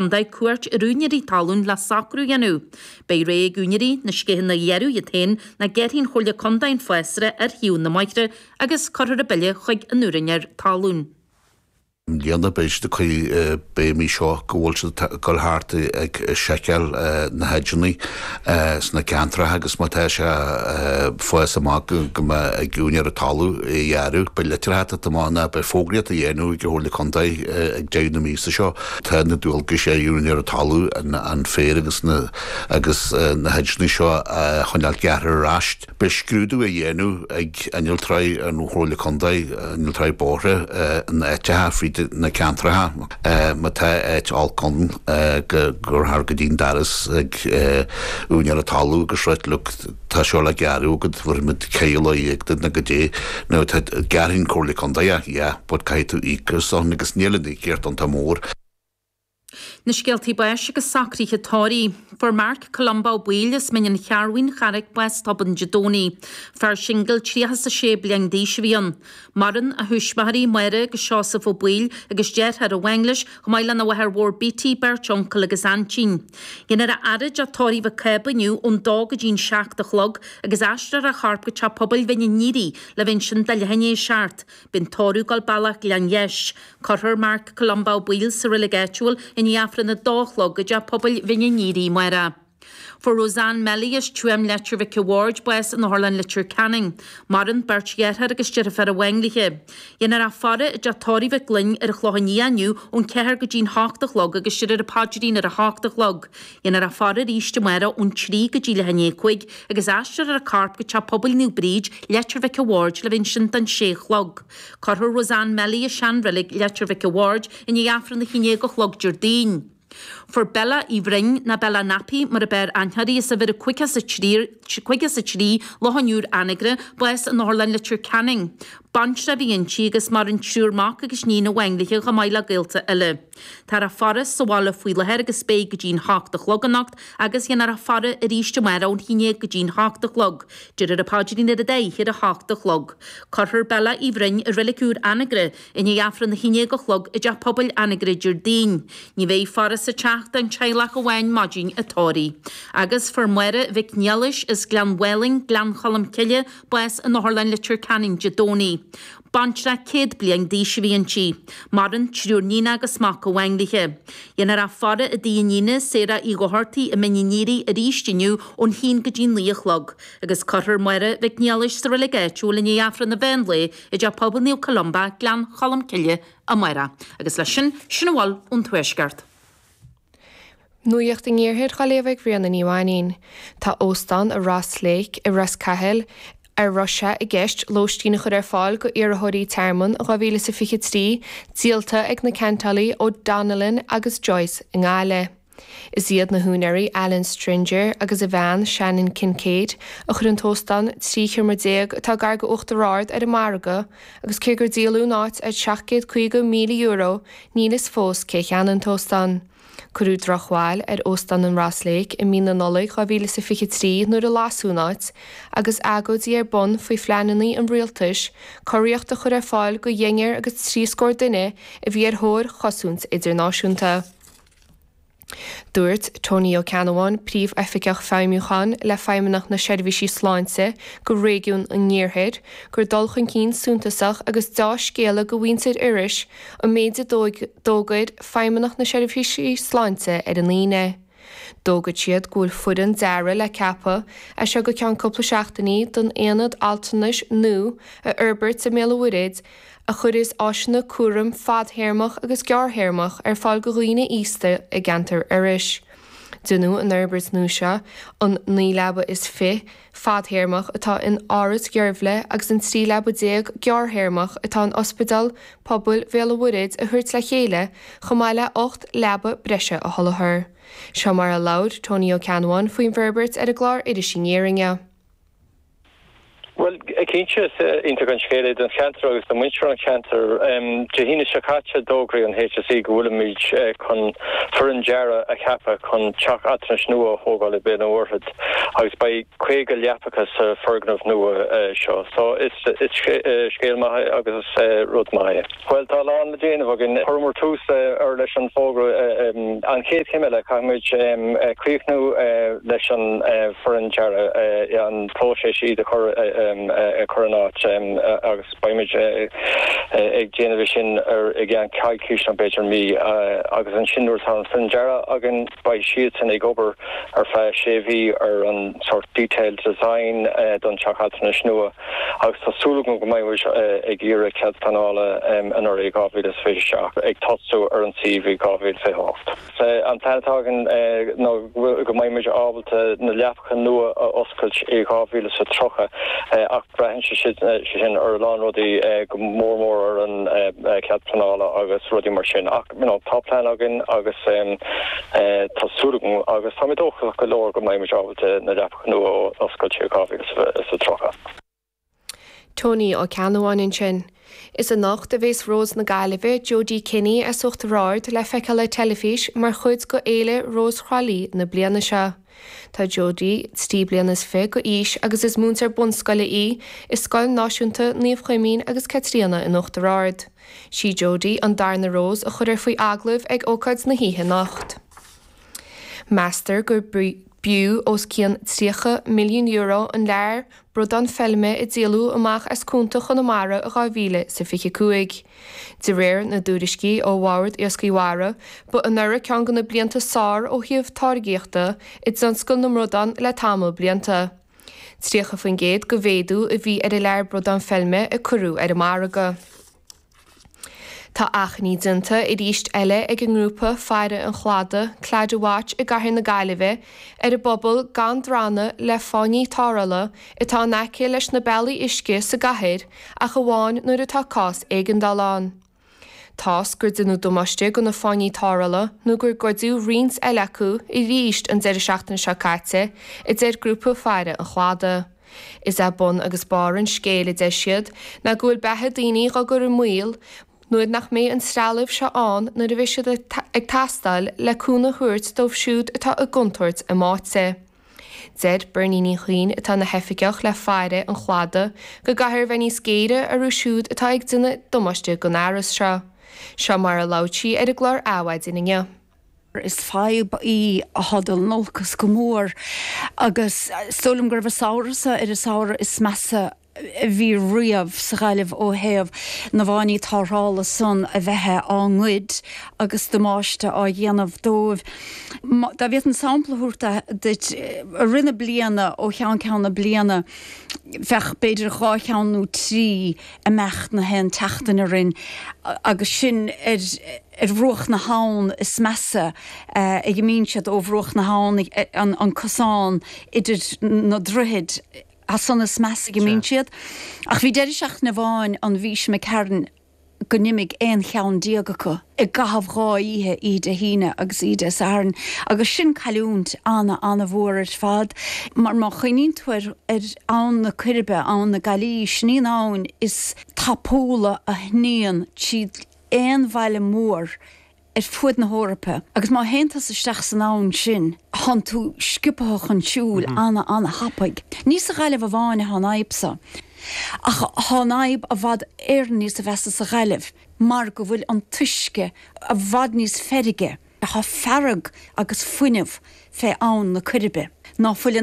Contae cuairt ar úinéirí talún le socrú a dhéanamh. Beidh rogha ag úinéirí na sceitheanna a ghearradh iad féin nó gearrfaidh an Chomhairle Contae an fásra ar thaobh na mbóithre agus cuirfear an bille chuig an úinéir talún. I mbliana beidh siad ag cur béim seo go bhfuil siad ag dul thart ag seiceáil na hedgeanna sna ceantracha agus má tá sé ag fás amach go mbeidh ag úinéir an talamh é a ghearradh. Beidh litreacha ag teacht amach ná beidh fógraíocht á dhéanamh ag an Chomhairle Contae ag deireadh na míosa seo. Tá na dualgais ar úinéir an talamh an féar agus na agus na hedgeanna seo a choinneáil gearrtha ar ais. Beidh scrúdú á dhéanamh ag innealtóirí an Chomhairle Contae, innealtóirí bóithre in áiteacha fríd na ceantracha. Má tá áit olc ann go gcuirfear go dtí'n doras ag úinéir an talamh agus ráit look tá seo le gearradh agat, bhéarfaimid ceithre lá dhéag duit nó goidé. Now tá, gearrfaidh an Comhairle Contae é, yeah, but caithfidh tú íoc ar son agus níl an íocaíocht iontach mór. Na scéaltaí báis agus socruithe tórraimh. Fuair Marc Columba Ó Baoill as Mín an Chearrbhaigh, an Charraic, bás tobann Dé Domhnaigh. Fear singil 36 bliain d'aois a bhí ann. Maireann a thuismitheoirí, Máire agus Seosamh Ó Baoill agus deartháir amháin leis, chomh maith lena mháthair mhór Beattie, beirt uncail agus aintín. Déanfar a fhaire i dteach tórraimh Mhic Cába inniu ón dó go dtí'n 7 a chlog agus aistreofar a chorp go teach pobail Bhinn an Iaraidh le bheith ansin do leath i ndiaidh a 7. Beidh an tórramh ag dul bealach Ghleann Gheis. Cuirfear Marc Columba Ó Baoill sa reilig áitiúil i ndiaidh Aifreann a dó a chlog i dTeach Pobail Bhinn an Iaraidh amárach. Fuair Roseanne Melly as Tuaim Leitir Mhic a' Bhaird bás in Otharlann Leitir Ceanainn. Maireann beirt dheartháir agus deirfiúr amháin léi. Déanfar a faire i dTeach Tórraimh Mhic Fhloinn ar an Chlochán Liath inniu ón 4 go dtí'n 8 a chlog agus déarfar an paidrín ar a hocht a chlog. Déanfar a faire arís amárach ón 3 go dtí leath i ndiaidh a 5 agus aistreofar a corp go Teach Pobail Naomh Bríd, Leitir Mhic a' Bhaird le bheith ansin don sé a chlog. Cuirfear Roseanne Melly i seanreilig Leitir Mhic a' Bhaird i ndiaidh Aifreann a haon déag a chlog Déardaoin. Fuair Bella Uí Bhroin, ná Bella Nappy mar a b'fhearr aithne uirthi, as uimhir a 53, 53 Loch an Iúir, Anagaire, bás in Otharlann Leitir Ceanainn. Baintreach a bhí inti agus maireann triúr mac agus níon amháin léi chomh maith le gaolta eile. Táthar á faire sa bhaile faoi láthair agus beidh go dtí'n hocht a chlog anocht agus déanfar a faire arís amárach ón haon déag go dtí'n hocht a chlog. Déarfar an paidrín ar an dá oíche ar a hocht a chlog. Cuirfear Bella Uí Bhroin i Reilig Úr Anagaire i ndiaidh Aifreann a haon déag a chlog i dTeach Pobail Anagaire Déardaoin. Ní bheidh faire sa teach don teaghlach amháin maidin an tórraimh. Agus fuair Máire Mhic Niallais as Gleann Mhálainn, Gleann Cholm Cille, bás in Otharlann Leitir Ceanainn Dé Domhnaigh. Baintreach 100 bliain d'aois a bhí inti. Maireann triúr níon agus mac amháin léi. Déanfar a faire i dtigh a níne, Sarah Uí Dhochartaigh i Mín an Iaraidh arís inniu ón haon go dtí naoi a chlog, agus cuirfear Máire Mhic Niallais sa reilig áitiúil i ndiaidh Aifreann an mheán lae i dTeach Pobail Naomh Columba, Gleann Cholm Cille, amárach. Agus leis sin, sin a bhfuil ón Tuaisceart. Nuacht an Iarthair á léamh ag Ríona Ní Mhainín. Tá Óstán an Ross Lake i Ros Cathail a raibh sé i gceist lóistín a chur ar fáil go iarrthóirí tearmainn in 2023 díolta ag na ceantálaí ó Donnellan agus Joyce i nGaillimh. Is iad na húinéirí Alan Stringer agus a bhean Shannon Kincaid a chuir an t-óstán 13 sheomra atá gar go Uachtar Ard ar an margadh agus cé gur díoladh an áit ar €750,000 níl fhios fós cé a cheannaigh an t-óstán. Cuireadh drochbhail ar Óstán an Ross Lake i mí na Nollag 2023 nuair a lasadh an áit, agus agóidí ar bun faoi phleananna an rialtais cóiríocht a chur ar fáil go deichniúr agus trí scór duine a bhí ar thóir chosaint idirnáisiúnta. Dúirt Tony Ó Ceannabháin, Príomhoifigeach Feidhmiúcháin le Feidhmeannacht na Seirbhísí Sláinte go Réigiún an Iarthair, gur dul chun cinn suntasach agus deá-scéala go mhuintir Iorrais an méid a d'fhógair Feidhmeannacht na Seirbhísí Sláinte ar an Aoine. D'fhógair siad go bhfuil foireann dearaidh le ceapadh as seo go ceann cúpla seachtainí don aonad altranais nua a fhorbairt i mBéal an Mhuirthead a chuirfeas áiseanna cúraim fadthéarmach agus gearrthéarmach ar fáil go dhaoine aosta i gceantar Iorrais. Déanfaidh an fhorbairt nua seo an 29 leaba fadthéarmach atá in Áras Dheirbhle agus an 13 leaba gearrthéarmach atá in Ospidéal Pobail Bhéal an Mhuirthead a thabhairt le chéile chomh maith le 8 leaba breise a sholáthar. Seo mar a labhair Tony Ó Ceannabháin faoin bhforbairt ar an gclár Iris Aniar inniu. Bhuel, cinnte, is iontach an scéal é don cheantar agus do mhuintir an cheantair. Dé hAoine seo caite, d'fhógraigh an HSE go bhfuilimid chun foireann dearaidh a cheapadh chun teach altranais nua a thógáil i Béal an Mhuirthead agus beidh 50 leapacha sa foirgneamh nua seo. So, is scéal maith é agus is rud maith é. Bhuel, tá a lán le déanamh againn. Chuireamar tús leis an bhfógra. An chéad chéim eile, caithfimid críochnú leis an bhfoireann dearaidh, an próiseas iad a chur in áit agus beimid ag déanamh é sin i gceann coicís nó b'fhéidir mí. Agus ansin nuair atá an foireann dearaidh againn, beidh siadsan ag obair ar feadh sé mhí ar an sórt detailed design don teach altranais nua. Agus tá súil agam go mbeidh muid ag iarraidh cead pleanála anuraidh i 2027, ag tosú ar an suíomh i 2028. An plean atá againn ná go mbeidh muid ábalta na leapacha nua a oscailt i 2030 ach braitheann sé sin ar a lán rudaí, go mór mór ar an cead pleanála agus rudaí mar sin. Ach you know tá plean againn agus tá súil agam agus tá mé dóchasach go leor go mbeidh muid ábalta na leapacha nua a oscailt i 2030. Tony Ó Ceannabháin ansin. Is anocht a bhéas Rós na Gaillimhe, Jodie Kenny as Uachtar Ard le feiceáil ar teilifís mar chuid go Fhéile Rós Thrá Lí na bliana seo. Tá Jodie 23 bliana go aois agus is múinteoir bunscoile í i Scoil Náisiúnta Naomh Chuimín agus Caitríona in Uachtar Ard. Sí Jodie an darna Rós a chuirfear faoi agallamh ag ócáid na hoíche anocht. Meastar gur b'fhiú os cionn €30 milliún an lear bradán feilme a díoladh amach as cuanta Chonamara i 2025. De réir na dtuairiscí ó Bhord Iascaigh Mhara, ba anuraidh ceann de na blianta is fearr ó thaobh táirgíochta i dtionscal na mbradán le tamall blianta. 30% de mhéadú a bhí ar an lear bradán feilme a cuireadh ar an margadh. Tá achainí déanta arís eile ag an ngrúpa Faire an Chladaigh, Claddagh Watch i gcathair na Gaillimhe ar an bpobal gan drannadh le fáinní tarrthála atá in aice leis na bealaí uisce sa gcathair ach amháin nuair atá cás éigeandála ann. Toisc gur deineadh damáiste do na fáinní tarrthála nó gur goideadh roinnt eile acu arís an deireadh seachtaine seo caite, a deir grúpa Faire an Chladaigh. Is é bun agus barr an scéil, a deir siad, ná go bhfuil beatha daoine dhá gcur i mbaol nuair nach mbeidh an trealamh seo ann nuair a bheidh siad ag teastáil le cúnamh a thabhairt dóibh siúd atá i gcontúirt a mbáite. Deir Bernie Ní Chuinn, atá ina hoifigeach le Faire an Chladaigh, go gcaithfear a bheith níos géire orthu siúd atá ag déanamh damáiste don fhearas seo. Seo mar a labhair sí ar an gclár Adhmhaidin inniu. Is fadhb í atá ag dul in olcas go mór agus is dóigh liom go raibh an samhradh seo ar an samhradh is measa a bhí riamh sa Ghaillimh ó thaobh na bhfáinní tarrthála san a bheith á ngoid agus damáiste á dhéanamh dóibh. Dá bhféadfainn sampla a thabhairt duit, i rith na bliana, ó cheann ceann na bliana, bheadh b'fhéidir dhá cheann nó trí ag imeacht na haon tseachtain orainn agus sin ar ar bhruach na habhann is measa a imíonn siad ó bhruach na habhann, an cosán idir na droichid, as san is measa a imíonn siad. Ach bhí deireadh seachtaine amháin an mhí seo imigh tharainn go n-imigh aon cheann déag acu i gcaitheamh dhá oíche, oíche Dé hAoine agus oíche Dé Sathairn, agus sin cailliúint ana-ana-mhór ar fad mar má chuimhníonn tú ar ar Abhainn na Coiribe, Abhainn na Gaillí, sin í an abhainn is tapúla a shníonn tríd aon bhaile mór ar fuaid na hEorpa agus má théann tusa isteach san abhainn sin thánn tú sciobtha chun siúil ana ana thapaidh. Ní sa Ghaillimh amháin athá an fhadhb so ach thá an fhadhb i bhfad Éireann níos mheasa sa Ghaillimh mar go bhfuil an t-uisce i bhfad níos feirge. Thá fearg agus fuinneamh fé abhainn na Coiribe ná fuil in.